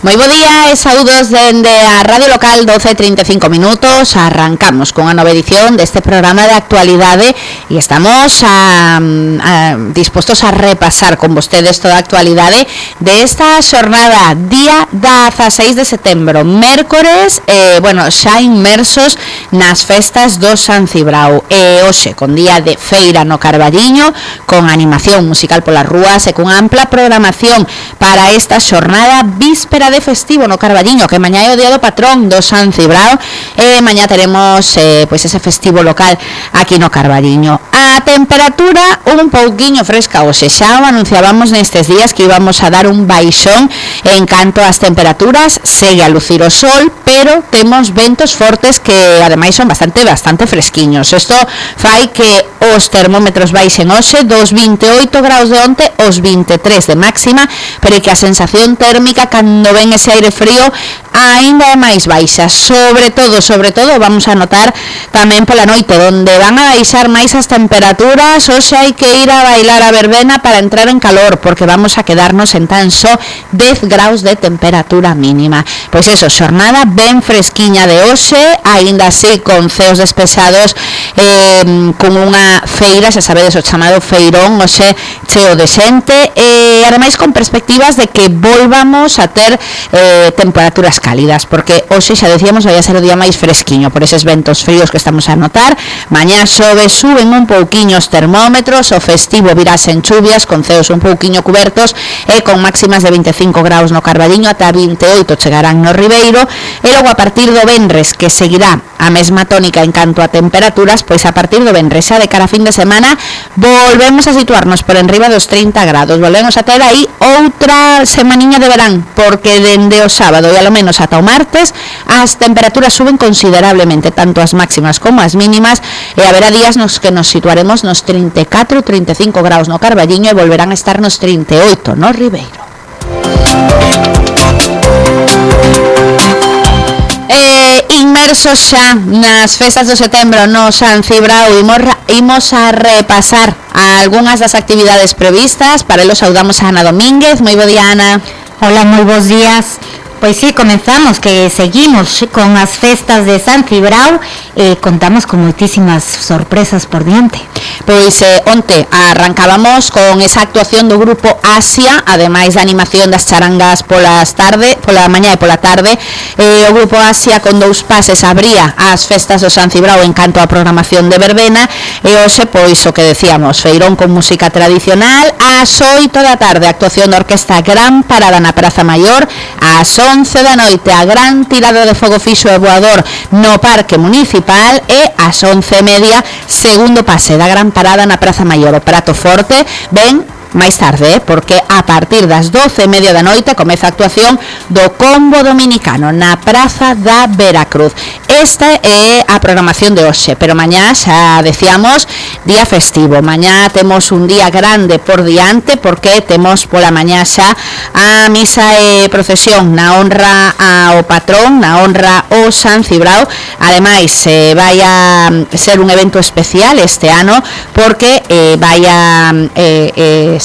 Moi bo día e saúdos dende a Radio Local 12:35 minutos. Arrancamos con a nova edición deste programa de actualidade e estamos dispostos a repasar con vostedes toda a actualidade desta xornada, día 16 de setembro, mércores, xa inmersos nas festas do San Cibrao. E hoxe, con día de feira no Carballiño, con animación musical polas rúas e con ampla programación para esta xornada víspera de festivo no Carballiño, que mañá é o día do patrón do San Cibrao, e mañá teremos ese festivo local aquí no Carballiño. A temperatura un pouquiño fresca hoxe, xa o anunciábamos nestes días que íbamos a dar un baixón en canto ás temperaturas. Segue a lucir o sol, pero temos ventos fortes que ademais son bastante fresquiños. Isto fai que os termómetros baixen hoxe dos 28 graus de onte aos 23 de máxima, pero que a sensación térmica cando ven ese aire frío aínda é máis baixa. Sobre todo vamos a notar tamén pola noite, onde van a baixar máis as temperaturas. Hoxe hai que ir a bailar a verbena para entrar en calor, porque vamos a quedarnos en tan só 10 graus de temperatura mínima. Pois eso, xornada ben fresquiña de hoxe, aínda así con ceos despejados, con unha feira, xa sabedes, o chamado feirón, hoxe cheo de xente, e ademais con perspectivas de que volvamos a ter temperaturas cálidas, porque hoxe xa decíamos vai a ser o día máis fresquiño por eses ventos fríos que estamos a notar. Mañá suben un pouquiño os termómetros, o festivo virase en chuvias, con ceos un pouquiño cubertos e con máximas de 25 graus no Carballiño, ata 28 chegarán no Ribeiro, e logo a partir do venres, que seguirá a mesma tónica en canto a temperaturas, pois a partir do venres, xa de cara a fin de semana, volvemos a situarnos por enriba dos 30 grados, volvemos a ter aí outra semaniña de verán, porque dende o sábado e alo menos ata o martes as temperaturas suben considerablemente, tanto as máximas como as mínimas, e haberá días nos que nos situaremos nos 34-35 graus no Carballiño e volverán a estar nos 38 no Ribeiro. Inmersos xa nas festas do setembro no San Cibrao, imos a repasar algunhas das actividades previstas. Para ello saudamos a Ana Domínguez. Moi bo día, Ana. Hola, moi bons días. Pois sí, comenzamos, que seguimos con as festas de San Cibrao e contamos con moitísimas sorpresas por diante. Pois onte arrancábamos con esa actuación do grupo Asia, ademais da animación das charangas pola mañá e pola tarde. O grupo Asia con dous pases abría as festas do San Cibrao en canto á programación de verbena, e hoxe, pois o que decíamos, feirón con música tradicional. Ás 8 da tarde, actuación da Orquesta Gran Parada na Praza Maior. Ás 11 da noite, a gran tirada de fogo fixo e voador no Parque Municipal, e ás 11:30, segundo pase da Gran Parada na Praza Maior. O prato forte ven máis tarde, porque a partir das 12:30 da noite comeza a actuación do Combo Dominicano na Praza da Veracruz. Esta é a programación de hoxe, pero mañá xa decíamos día festivo. Mañá temos un día grande por diante, porque temos pola mañá xa a misa e procesión na honra ao patrón, na honra ao San Cibrao. Ademais, vai a ser un evento especial este ano, porque vai a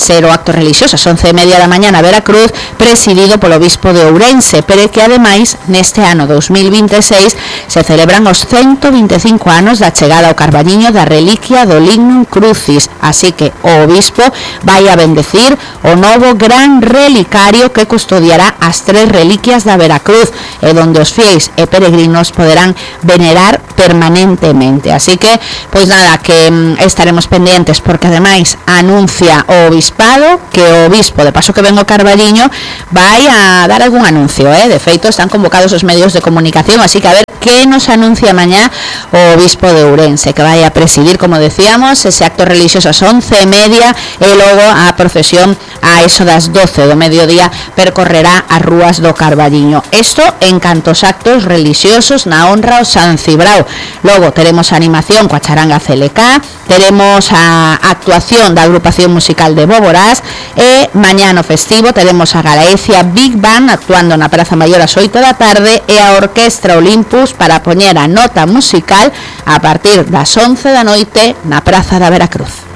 ser o acto religioso ás 11:30 da mañá na Veracruz, presidido polo obispo de Ourense, pero que ademais neste ano 2026 se celebran os 125 anos da chegada ao Carballiño da reliquia do Lignum Crucis, así que o obispo vai a bendecir o novo gran relicario que custodiará as 3 reliquias da Veracruz, e donde os fiéis e peregrinos poderán venerar permanentemente. Así que, pois nada, que estaremos pendientes, porque ademais anuncia o obispado que o obispo, de paso que ven o Carballiño, vai a dar algún anuncio, de feito están convocados os medios de comunicación, así que a ver que nos anuncia mañá o obispo de Ourense, que vai a presidir, como decíamos, ese acto religioso ás 11:30, e logo a procesión a eso das 12 do mediodía percorrerá as rúas do Carballiño. Isto en canto aos actos religiosos na honra ao San Cibrao. Logo teremos a animación coa charanga CLK, teremos a actuación da agrupación musical de Bóboras, e mañá no festivo teremos a Galaecia Big Band actuando na Praza Maior ás 8 da tarde, e a Orquestra Olympus para poñer a nota musical a partir das 11 da noite na Praza da Veracruz.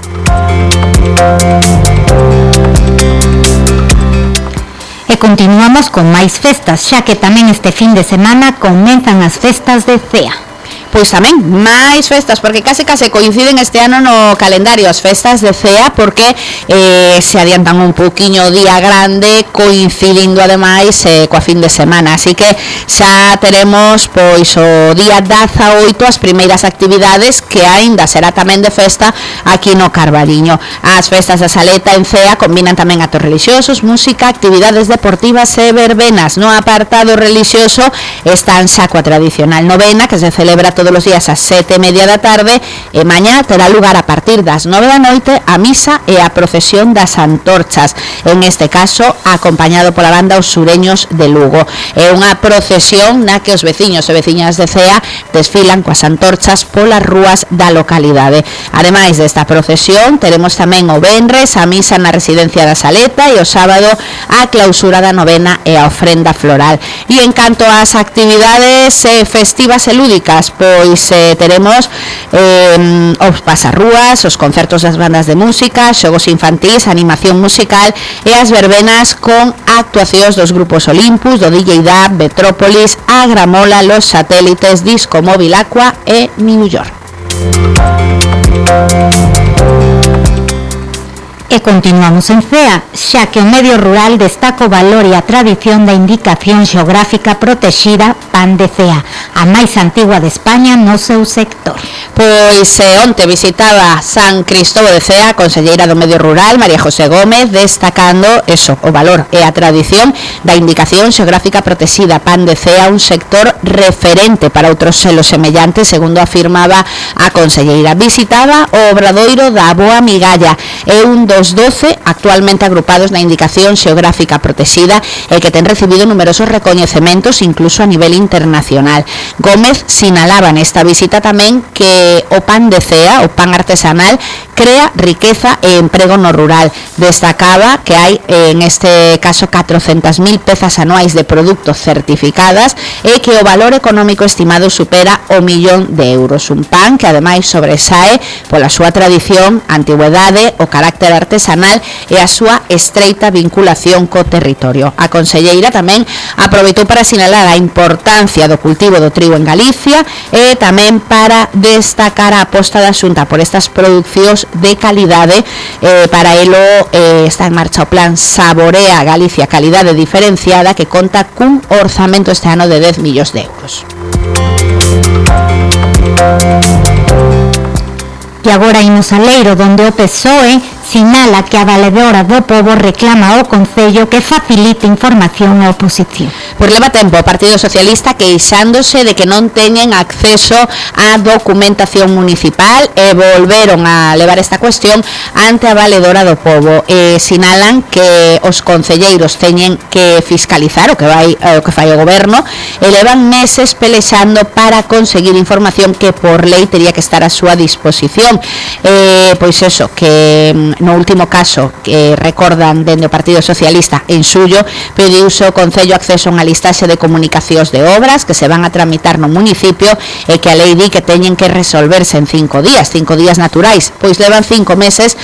E continuamos con máis festas, xa que tamén este fin de semana comenzan as festas de Cea. Pois tamén máis festas, porque case coinciden este ano no calendario as festas de Cea, porque se adiantan un pouquiño o día grande, coincidindo ademais coa fin de semana, así que xa teremos pois o día 18 as primeiras actividades que aínda será tamén de festa aquí no Carballiño. As festas da Saleta en Cea combinan tamén actos religiosos, música, actividades deportivas e verbenas. No apartado religioso están xa coa tradicional novena que se celebra todos os días ás 7:30 da tarde, e mañá terá lugar a partir das 9 da noite a misa e a procesión das antorchas, en este caso acompañado pola banda Os Sureños de Lugo. É unha procesión na que os veciños e veciñas de Cea desfilan coas antorchas polas rúas da localidade. Ademais desta procesión, teremos tamén o venres a misa na residencia da Saleta e o sábado a clausura da novena e a ofrenda floral. E en canto ás actividades festivas e lúdicas, pois teremos os pasarrúas, os concertos das bandas de música, xogos infantís, animación musical e as verbenas con actuacións dos grupos Olympus, do DJ Dab, Metrópolis, A Gramola, Los Satélites, Disco Móvil Aqua e New York. E continuamos en Cea, xa que o medio rural destaca o valor e a tradición da indicación xeográfica protexida Pan de Cea, a máis antigua de España no seu sector. Pois onte visitaba San Cristóbal de Cea a conselleira do Medio Rural, María José Gómez, destacando o valor e a tradición da indicación xeográfica protexida Pan de Cea, un sector referente para outros selos semellantes, segundo afirmaba a conselleira. Visitaba o obradoiro da Boa Migalla, é un dos 12 actualmente agrupados na indicación xeográfica protexida e que ten recibido numerosos recoñecementos incluso a nivel internacional. Gómez sinalaba nesta visita tamén que o pan de Cea, o pan artesanal, crea riqueza e emprego no rural. Destacaba que hai en este caso 400.000 pezas anuais de produtos certificadas e que o valor económico estimado supera o 1.000.000 de euros. Un pan que ademais sobresae pola súa tradición, antigüedade, o carácter artesanal e a súa estreita vinculación co territorio. A conselleira tamén aproveitou para sinalar a importancia do cultivo do trigo en Galicia e tamén para destacar a aposta da Xunta por estas producións de calidade. Para elo está en marcha o plan Saborea Galicia Calidade Diferenciada, que conta cun orzamento este ano de 10 millóns de euros. E agora imos a Leiro, donde o PSOE sinala que a Valedora do Pobo reclama ao Concello que facilite información á oposición. Pois leva tempo o Partido Socialista queixándose de que non teñen acceso á documentación municipal e volveron a levar esta cuestión ante a Valedora do Pobo. Sinalan que os concelleiros teñen que fiscalizar o que fai o goberno e levan meses pelexando para conseguir información que por lei teria que estar a súa disposición. Pois eso, que no último caso que recordan dende o Partido Socialista en suyo, pediuse o Concello acceso a unha listaxe de comunicacións de obras que se van a tramitar no municipio e que a lei di que teñen que resolverse en 5 días naturais. Pois levan 5 meses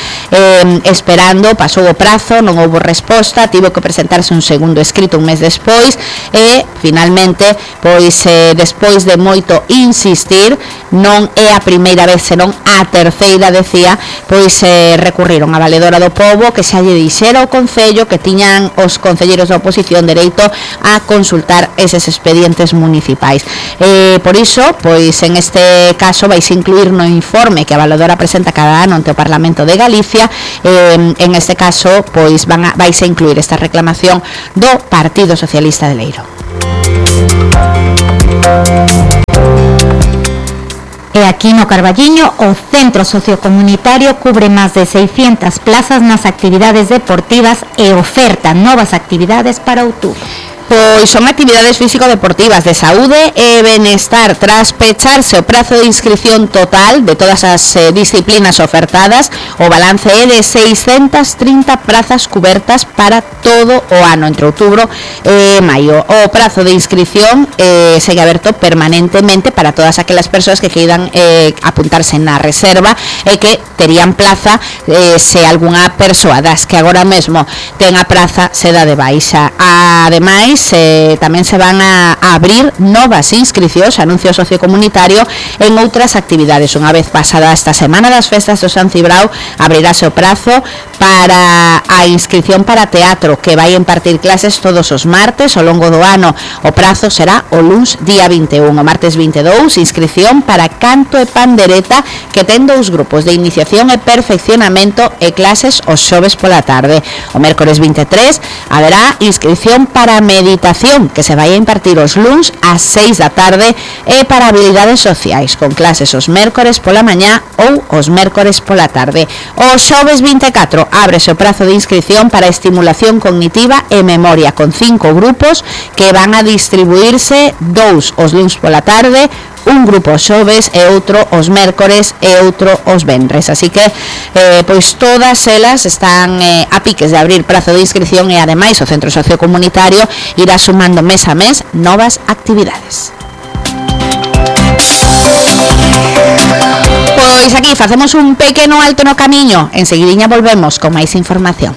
esperando, pasou o prazo, non houbo resposta, tivo que presentarse un segundo escrito un mes despois e finalmente, pois despois de moito insistir, non é a primeira vez, senón a terceira, decía, pois recurriron a Valedora do Pobo que xa lle dixera ao Concello que tiñan os concelleiros da oposición dereito a consultar eses expedientes municipais. Por iso, pois en este caso vais incluir no informe que a Valedora presenta cada ano ante o Parlamento de Galicia, en este caso, pois vais a incluir esta reclamación do Partido Socialista de Leiro. E aquí no Carballiño, o Centro Sociocomunitario cubre máis de 600 plazas nas actividades deportivas e oferta novas actividades para outubro. Pois son actividades físico-deportivas de saúde e benestar tras pecharse o prazo de inscripción total de todas as disciplinas ofertadas. O balance é de 630 prazas cubertas para todo o ano entre outubro e maio. O prazo de inscripción segue aberto permanentemente para todas aquelas persoas que queiran apuntarse na reserva e que terían plaza se algunha persoa das que agora mesmo ten a praza se dá de baixa. Ademais, tamén se van a abrir novas inscricións, anuncio sociocomunitario en outras actividades. Unha vez pasada esta semana das festas do San Cibrao, abrirase o prazo para a inscripción para teatro, que vai impartir clases todos os martes ao longo do ano. O prazo será o luns día 21, o martes 22, inscripción para canto e pandereta, que ten 2 grupos de iniciación e perfeccionamento e clases os xoves pola tarde. O mércores 23 haberá inscripción para meditación, que se vai a impartir os luns ás 6 da tarde, e para habilidades sociais, con clases os mércores pola mañá ou os mércores pola tarde. O xoves 24 ábrese o prazo de inscripción para estimulación cognitiva e memoria, con 5 grupos que van a distribuirse 2 os luns pola tarde, un grupo os xoves e outro os mércores e outro os venres. Así que pois todas elas están a piques de abrir prazo de inscripción, e ademais o Centro Sociocomunitario irá sumando mes a mes novas actividades. Pois aquí facemos un pequeno alto no camiño, enseguidiña volvemos con máis información.